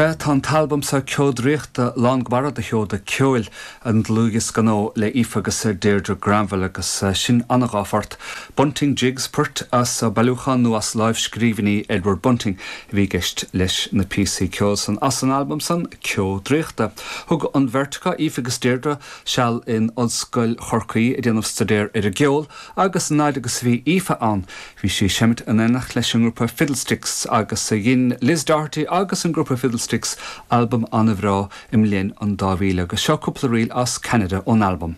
Sea, tá an t-albam seo Ceo Draíochta lán go barra de sheoda ceoil, an dlúthdhiosca nua le Aoife agus Deirdre Granville agus sin an dá phort, Bunting Jigs, poirt as bailiúchán nó as lámhscríbhinní Edward Bunting a bhí i gceist leis na píosaí ceoil san as an albam san, Ceo Draíochta. Thug an bheirt acu, Aoife agus Deirdre, seal in Ollscoil Chorcaí ag déanamh staidéar ar an gceol agus an fhaid agus a bhí Aoife ann bhí sí ag seimint in éineacht leis an ngrúpa Fiddlesticks agus dhein Liz Doherty agus an grúpa Fiddlesticks albam an-bhreá i mbliain an 2000 agus seo cúpla ríl as Canada ón albam.